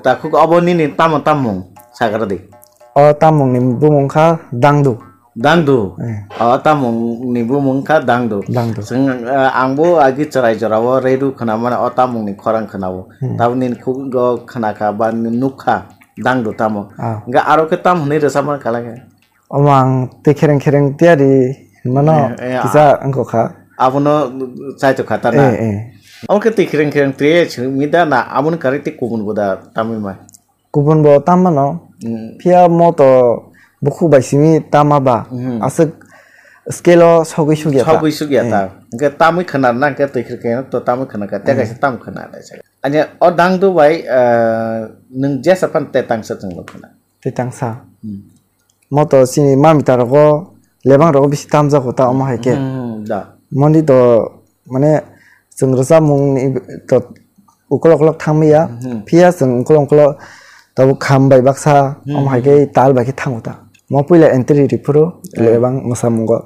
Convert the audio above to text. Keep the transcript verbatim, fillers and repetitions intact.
Takhuk obo nini tamo tamung sagra di. O tamung ni bumung kha Dangdu. Dangdu. Eh. O tamung ni bumung kha Dangdu. Dangdu. Chwng, eh, angbo agi chwrai jorao radio khwnamani o tamung ni khorang khwnao. Hmm. Tabuk nini khugo khwnakha ba nukha Dangdu tamo. Ah. Hingke aro khe tam hwnwi rwchapmani kala khe? Omo ang twi khereng khereng tiyari hinmano. Eh, eh, kisa wngkha kha. Abono chaitok kha ta na? Eh, eh. Omo khe twi khereng khereng twi simi da na, aboni karwi tei kubun bo da tamwi ma? Kubun bo tam mano. Hmm. Phiya mo to bukhuk bai simi tama ba. Hmm. Aswk scale o sogwi sugya ta. Sogwi sugya ta. Eh. Hingke tamwi khwna na, hingke twi khereng khereng to tamwi khwna kha. Tei kaisa tam khwna naisa. Ani o Dangdu bai, eh, nwng jesa phan tei tangsa chwng bo khwna. Tei tangsa. Hmm. Moto chini mami ta rogo lebang rogo bisi tamjago ta omo hai khe. Hmm, da. Moni to mane chwng rwchapmung ni to ukolok ukolok thangmaya. Hmm. Phiya chwng ukolok ukolok tabuk kham bai baksa, hmm, omo hai khe tal bai khe thango ta. Mo puila entry ri phuru, hmm, lebang mwsamungo.